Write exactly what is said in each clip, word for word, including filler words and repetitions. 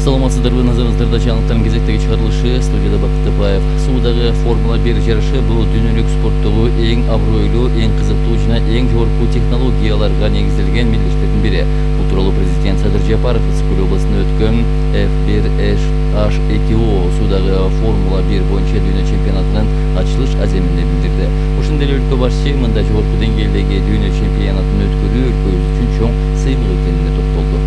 Саламатсыздарбы, назарыңыздарда жаңылыктардын кезектеги чыгарылышы. Студияда Бакыт Тапаев. Суудагы Формула бир жарышы бул дүйнөлүк спорттогу эң абройлуу, эң кызыктуу жана эң жогорку технологияларга негизделген мелдештердин бири. Бул тууралуу президент Садыр Жапаров Ысык-Көл областында өткөн эф бир эйч эки о Суудагы Формула бир боюнча дүйнө чемпионатынын ачылыш аземинде билдирди. Ошондой эле өлкө башчы мындай жогорку деңгээлдеги дүйнө чемпионатын өткөрүү өлкөбүз үчүн чоң сыймык экенине токтолду.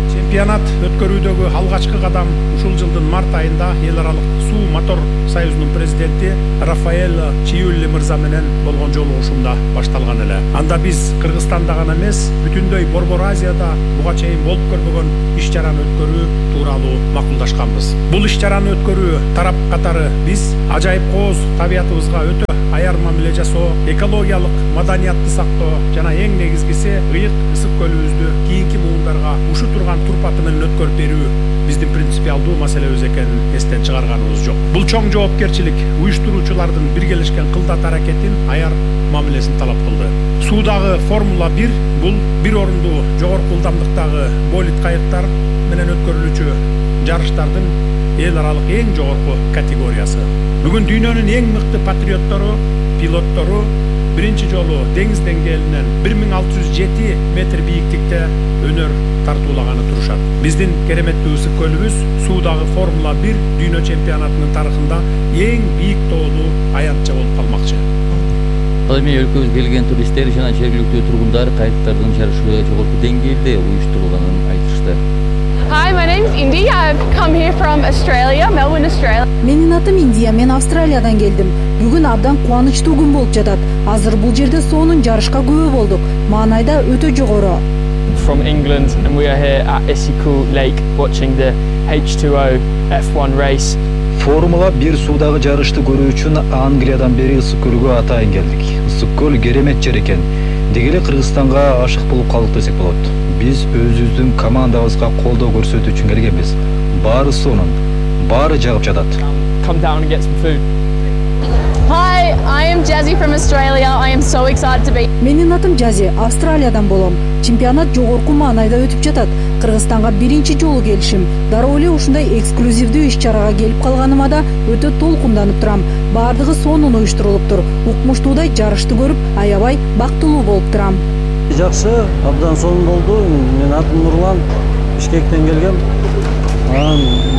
Чемпионат өткөрүүдөгү алгачкы кадам ушул жылдын март айында эл аралык суу мотор союзунун президенти Рафаэль Чиюлли мырза менен болгон жолугушуумда башталган эле. Анда биз Кыргызстанда гана эмес, бүтүндөй Борбор Азияда буга чейин болуп көрбөгөн иш чараны өткөрүү тууралуу макулдашканбыз. Бул иш чараны өткөрүү тарап катары биз ажайып кооз табиятыбызга өтө аяр мамиле жасоо, экологиялык маданиятты сактоо жана эң негизгиси ыйык ысык көлүбүздү кийинки муундарга ушу турган турпаты менен өткөрүп берүү биздин принципиалдуу маселебиз экенин эстен чыгарганыбыз жок. Бул чоң жоопкерчилик уюштуруучулардын биргелешкен кылдат аракетин аяр мамилесин талап кылды. Суудагы Формула бир бул бир орундуу жогорку ылдамдыктагы болид кайыктар менен өткөрүлүүчү жарыштардын эл аралык эң жогорку категориясы. Бүгүн дүйнөнүн эң мыкты патриоттору, пилоттору биринчи жолу деңиз деңгээлинен бир миң алты жүз жети метр бийиктикте өнөр тартуулаганы турушат. Биздин кереметтүү ысык көлүбүз Суудагы Формула бир дүйнө чемпионатынын тарыхында эң бийик тоолуу аянтча болуп калмакчы. Ал эми өлкөбүзгө келген туристтер жана жергиликтүү тургундар кайыктардын жарышы жогорку деңгээлде уюштурулганын айтышты. Hi, my name is Indy. I've come here from Australia, Melbourne, Australia. Менин атым Индия, мен Австралиядан келдим. Бүгүн абдан кубанычтуу күн болуп жатат. Азыр бул жерде соонун жарышка күбө болдук. Маанайда өтө жогору. From England and we are here at Issy-Kul Lake watching the H two O F one race. Формула бир суудагы жарышты көрүү үчүн Англиядан бери Ысык-Көлгө атайын келдик. Ысык-Көл керемет жер экен. Деги эле Кыргызстанга ашык болуп калдык десек болот. Биз өзүбүздүн командабызга колдоо көрсөтүү үчүн келгенбиз. Баары сонун, баары жагып жатат. Come down and get some food. Hi, I am Jazzy from Australia. I am so excited to be. Менин атым Жази, Австралиядан болом. Чемпионат жогорку маанайда өтүп жатат. Кыргызстанга биринчи жолу келишим. Дароо эле ушундай эксклюзивдүү иш-чарага келип калганыма да өтө толкунданып турам. Баардыгы сонун уюштурулуптур. Укмуштуудай жарышты көрүп, аябай бактылуу болуп турам. Жакшы, абдан сонун болду. Мен атым Нурлан, Бишкектен келгем.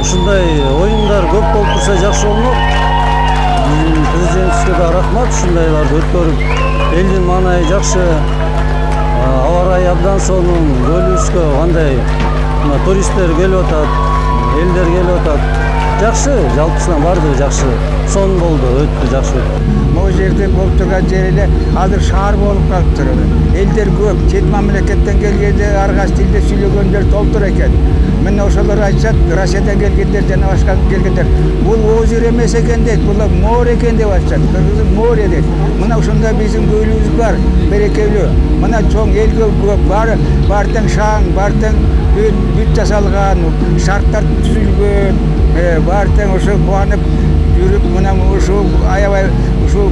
Ушундай оюндар көп болуп турса жакшы болмок. Президентибизге да рахмат, ушундайларды өткөрүп, элдин маанайы жакшы. Аба ырайы абдан сонун, көлүбүзгө кандай туристтер келип атат, элдер келип атат. Жакшы, жалпысынан баардыгы жакшы. Сонун болду, өттү, жакшы өттү. Могу жерде болуп турган жер эле азыр шаар болуп калыптыр. Элдер көп, чет мамлекеттен келгенде ар кайсы тилде сүйлөгөндөр толтур экен. Мына ошолор айтышат, Россиядан келгендер жана башка келгендер. Бул озеро эмес экен дейт, бул море экен деп айтышат. Кыргыз море дейт. Мына ошондой биздин көлүбүз бар, берекелүү. Мына чоң элге көп, баары баартаң шаң, баартаң бүт жасалган, шарттар түзүлгөн. Баартаң ошо кубанып жүрүп, мына ушу аябай ушу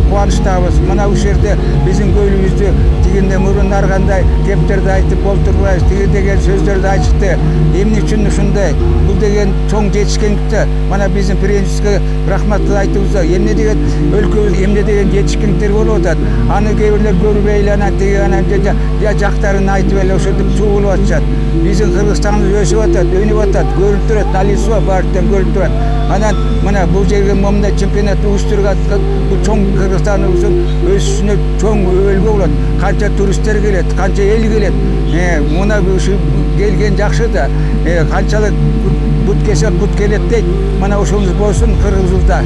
кубанычтабыз. Мына ушул жерде биздин көлүбүздү тигинде мурун аргандай кептерди айтып болтурбайбыз, тиги деген сөздөрдү айтышты. Эмне үчүн ушундай? Бул деген чоң жетишкендикте. Мана биздин президентибизге рахмат айтыбыз. Эмне деген өлкөбүз эмне деген жетишкендиктер болуп атат. Аны кээ бирлер көрбөй эле анан тиги анан жактарын айтып эле ошентип чогулуп атышат. Биздин Кыргызстаныбыз өсүп атат, өнүп атат, көрүнүп турат, налицо баардыгы көрүнүп турат. Анан мына бул жерге момундай чемпионат уюштурган бул чоң Кыргызстаныбыздын өсүшүнө чоң өлгө болот. Канча туристтер келет, канча эл келет. Мына ушу келген жакшы да. Канчалык бут кесе бут келет дейт. Мына ошоңуз болсун Кыргызыбызда.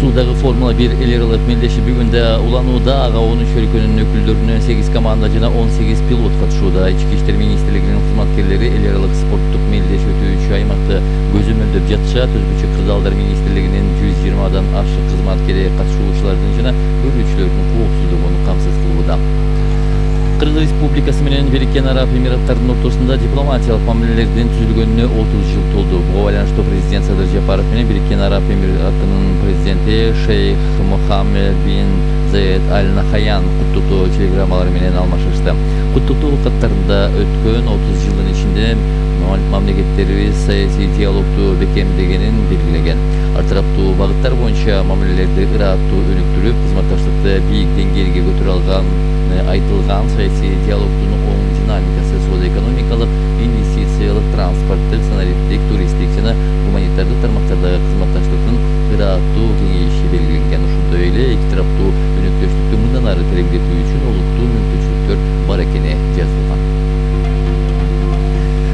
Суудагы Формула бир эл аралык мелдеши бүгүндө уланууда. Ага он үч өлкөнүн өкүлдөрүнөн сегиз команда жана он сегиз пилот катышууда. Ички иштер министрлигинин кызматкерлери эл аралык спорттук мелдеш өтүүчү аймакты көзөмөлдөп жатышат. Өзбүчө кырдаалдар министрлигинин жүз жыйырмадан ашык кызматкери катышуучулардын жана көрүүчүлөрдүн коопсуздугун камсыз кылууда. Кыргыз Республикасы менен Бириккен Араб Эмираттарынын ортосунда дипломатиялык мамилелердин түзүлгөнүнө отуз жыл толду. Буга байланыштуу президент Садыр Жапаров менен Бириккен Араб Эмираттарынын президенти Шейх Мухаммед бин Заед Аль Нахаян куттуктоо телеграммалары менен алмашышты. Куттуктоо каттарында өткөн отуз жылдын ичинде мамлекеттерибиз саясий диалогду бекемдегенин белгилеген. Ар тараптуу багыттар боюнча мамилелерди ыраттуу өнүктүрүп, кызматташтыкты бийик деңгээлге көтөрө алган айтылган саясий диалогдун оң динамикасы соода-экономикалык, инвестициялык, транспорттук, санариптик, туристтик жана гуманитардык тармактардагы кызматташтыктын ыраттуу кеңейиши белгиленген. Ошондой эле эки тараптуу өнөктөштүктү мындан ары тереңдетүү үчүн олуттуу мүмкүнчүлүктөр бар экени жазылган.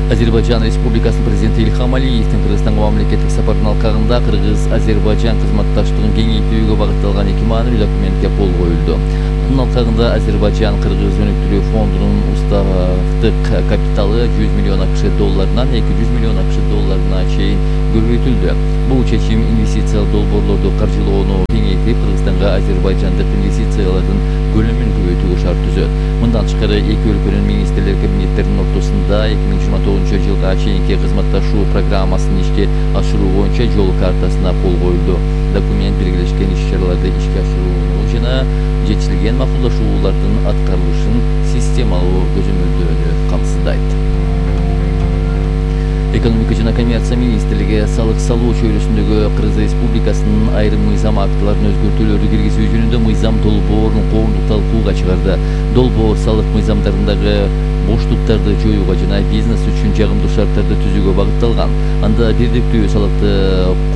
Азербайжан Республикасынын президенти Ильхам Алиевдин Кыргызстанга мамлекеттик сапардын алкагында Кыргыз-Азербайжан кызматташтыгын кеңейтүүгө багытталган эки маанилүү документке кол коюлду. Мунун алкагында Азербайжан Кыргыз өнүктүрүү фондунун уставдык капиталы жүз миллион акш долларынан эки жүз миллион акш долларына чейин көбөйтүлдү. Бул чечим инвестициялык долбоорлорду каржылоону кеңейтип, Кыргызстанга азербайжандык инвестициялардын көлөмүн көбөйтүүгө шарт түзөт. Мындан тышкары эки өлкөнүн министрлер кабинеттеринин ортосунда эки миң жыйырма тогузунчу жылга чейинки кызматташуу программасын ишке ашыруу боюнча жол картасына кол коюлду. Документ белгилешкен иш-чараларды ишке ашырууну жана жетишилген макулдашуулардын аткарылышын системалуу көзөмөлдөөнү камсыздайт. Экономика жана коммерция министрлиги салык салуу чөйрөсүндөгү Кыргыз Республикасынын айрым мыйзам актыларына өзгөртүүлөрдү киргизүү жөнүндө мыйзам долбоорун коомдук талкууга чыгарды. Долбоор салык мыйзамдарындагы боштуктарды жоюуга жана бизнес үчүн жагымдуу шарттарды түзүүгө багытталган. Анда бирдиктүү салыкты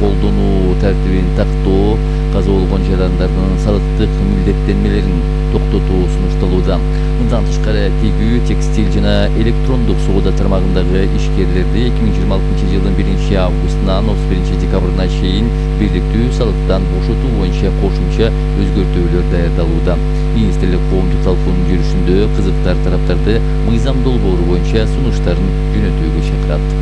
колдонуу тартибин тактоо, каза болгон жарандардын салыктык милдеттенмелерин токтотуу сунушталууда. Мындан тышкары тегүү, текстиль жана электрондук соода тармагындагы ишкерлерди эки миң жыйырма алтынчы жылдын биринчи августунан отуз биринчи декабрына чейин бирдиктүү салыктан бошотуу боюнча кошумча өзгөртүүлөр даярдалууда. Министрлик коомдук талкуунун жүрүшүндө кызыктар тараптарды мыйзам долбоору боюнча сунуштарын жөнөтүүгө чакырат.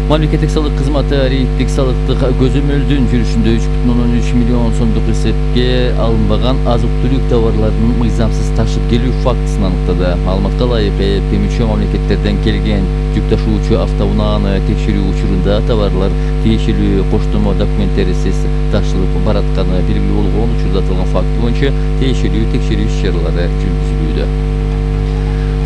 Мамлекеттик салык кызматы рейдтик салыктык көзөмөлдүн жүрүшүндө үч бүтүн ондон үч миллион сомдук эсепке алынбаган азык-түлүк товарларынын мыйзамсыз ташып келүү фактысын аныктады. Маалыматка ылайык, ЭЭП мүчө мамлекеттерден келген жүк ташуучу автоунааны текшерүү учурунда товарлар тиешелүү коштомо документтерсиз ташылып баратканы белгилүү болгон. Учурда аталган факт боюнча тиешелүү текшерүү иш-чаралары жүргүзүлүүдө.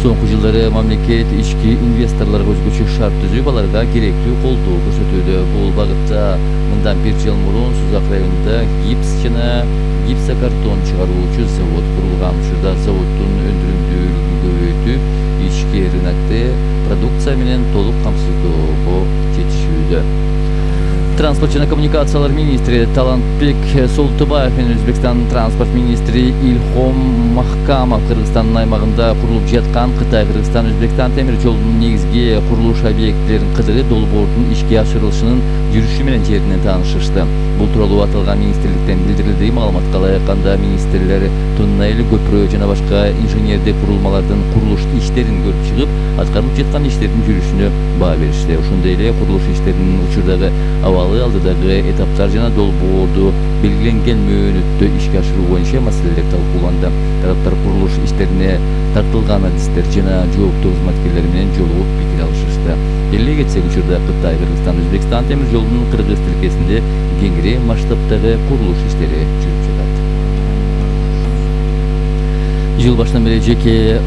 Соңку жылдары мамлекет ички инвесторлорго өзгөчө шарт түзүп, аларга керектүү колдоо көрсөтүүдө. Бул багытта мындан бир жыл мурун Сузак районунда гипс жана гипсокартон чыгаруучу завод курулган. Учурда заводдун өндүрүмдүүлүгүн көбөйтүп, ички рынокты продукция менен толук камсыздоого жетишүүдө. Транспорт жана коммуникациялар министри Талантбек Солтубаев менен Өзбекстандын транспорт министри Ильхом Махкамов Кыргызстандын аймагында курулуп жаткан Кытай-Кыргызстан Өзбекстан темир жолунун негизги курулуш объектилерин кыдырып, долбоордун ишке ашырылышынын жүрүшү менен жеринен таанышышты. Бул тууралуу аталган министрликтен билдирилди. Маалыматка ылайык, анда министрлер туннель, көпүрө жана башка инженердик курулмалардын курулуш иштерин көрүп чыгып, аткарылып жаткан иштердин жүрүшүнө баа беришти. Ошондой эле курулуш иштеринин учурдагы абалы, алдыдагы этаптар жана долбоорду белгиленген мөөнөттө ишке ашыруу боюнча маселелер талкууланды. Тараптар курулуш иштерине тартылган адистер жана жооптуу кызматкерлер менен жолугуп пикир алышышты. Эле кетсек, учурда Кытай, Кыргызстан, Өзбекстан темир жолунун кыргыз тилкесинде кеңири масштабтагы курулуш иштери жүрүп жатат. Жыл башынан бери жеке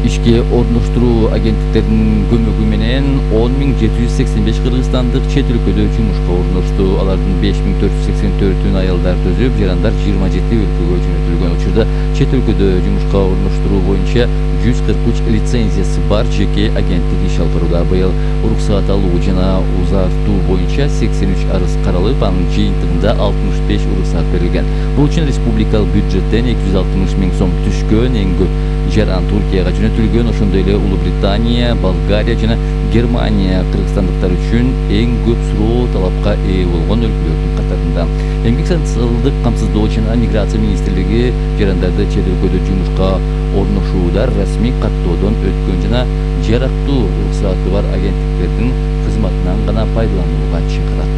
ишке орноштуруу агенттиктеринин көмөгү менен он миң жети жүз сексен беш кыргызстандык чет өлкөдө жумушка орношту. Алардын беш миң төрт жүз сексен төртүн аялдар төзүп, жарандар жыйырма жети өлкөгө жөнөтүлгөн. Учурда чет өлкөдө жумушка орноштуруу боюнча жүз кырк үч лицензиясы бар жеке агенттик иш алып барууда. Быйыл уруксаат алуу жана узартуу боюнча сексен үч арыз каралып, анын жыйынтыгында алтымыш беш уруксаат берилген. Бул үчүн республикалык бюджеттен эки жүз алтымыш миң сом түшкөн. Эң көп жаран Туркияга жөнөтүлгөн. Ошондой эле Улуу Британия, Болгария жана Германия кыргызстандыктар үчүн эң көп суроо талапка ээ болгон өлкөлөрдүн катарында. Эмгек социалдык камсыздоо жана миграция министрлиги жарандарды чет өлкөдө жумушка орношууда расмий каттоодон өткөн жана жарактуу уруксааты бар агенттиктердин кызматынан гана пайдаланууга чакырат.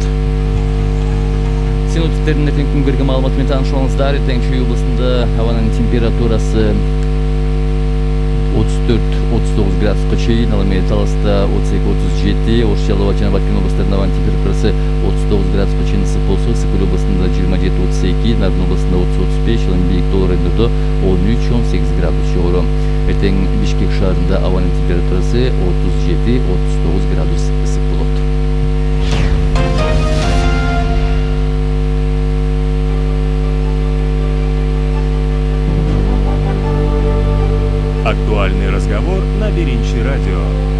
Синоптиктердин эртеңки күнгөргө маалыматы менен таанышыңыздар. Эртең Чүй областында абанын температурасы отуз төрт отуз тогуз градуска чейин, ал эми Таласта отуз эки отуз жети, Ош, Жалал жана Бакин областарында абанын температурасы отуз тогуз градуска чейин ысык болсо, Ысык Көл областында жыйырма жети отуз эки, Нарын областында отуз отуз беш, ал эми бийик тоо райондордо он үч он сегиз градус жогору. Эртең Бишкек шаарында абанын температурасы отуз жети — отуз тогуз градус ысык болот. Актуальный разговор на Биринчи радио.